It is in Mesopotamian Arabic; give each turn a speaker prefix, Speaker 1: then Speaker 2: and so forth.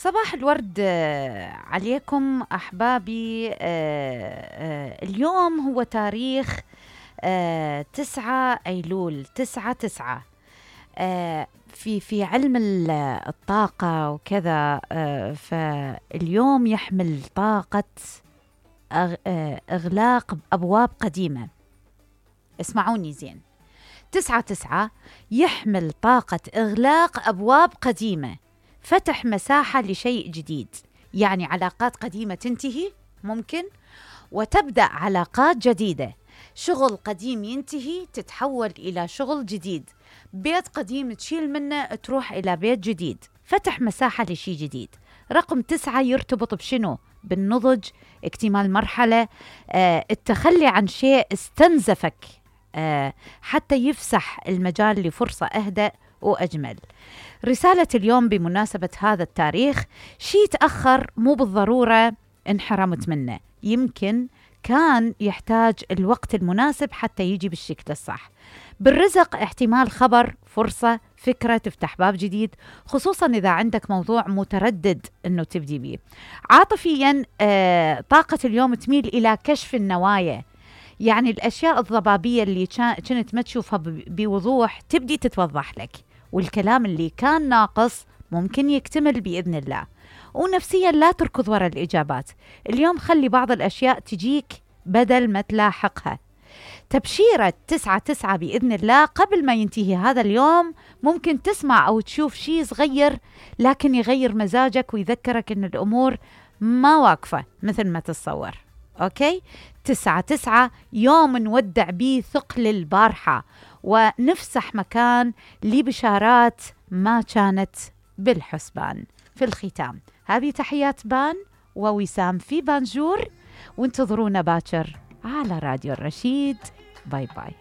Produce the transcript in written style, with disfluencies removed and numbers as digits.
Speaker 1: صباح الورد عليكم أحبابي. اليوم هو تاريخ 9 أيلول 9/9. في علم الطاقة وكذا. فاليوم يحمل طاقة إغلاق أبواب قديمة. اسمعوني زين، 9/9 يحمل طاقة إغلاق أبواب قديمة، فتح مساحة لشيء جديد. يعني علاقات قديمة تنتهي ممكن، وتبدأ علاقات جديدة. شغل قديم ينتهي تتحول إلى شغل جديد. بيت قديم تشيل منه تروح إلى بيت جديد. فتح مساحة لشيء جديد. رقم 9 يرتبط بشنو؟ بالنضج، اكتمال مرحلة، التخلي عن شيء استنزفك حتى يفسح المجال لفرصة أهدأ وأجمل. رسالة اليوم بمناسبة هذا التاريخ: شيء تأخر مو بالضرورة انحرمت منه، يمكن كان يحتاج الوقت المناسب حتى يجي بالشكل الصح. بالرزق احتمال خبر، فرصة، فكرة تفتح باب جديد، خصوصا إذا عندك موضوع متردد أنه تبدي بيه. عاطفيا طاقة اليوم تميل إلى كشف النوايا. يعني الأشياء الضبابية اللي كنت ما تشوفها بوضوح تبدي تتوضح لك، والكلام اللي كان ناقص ممكن يكتمل بإذن الله. ونفسيا لا تركض وراء الإجابات. اليوم خلي بعض الأشياء تجيك بدل ما تلاحقها. تبشيرة 9/9 بإذن الله قبل ما ينتهي هذا اليوم ممكن تسمع أو تشوف شيء صغير لكن يغير مزاجك ويذكرك أن الأمور ما واقفة مثل ما تتصور. أوكي؟ 9/9 يوم نودع بيه ثقل البارحة ونفسح مكان لبشارات ما كانت بالحسبان. في الختام هذه تحيات بان ووسام في بانجور، وانتظرونا باكر على راديو الرشيد. باي باي.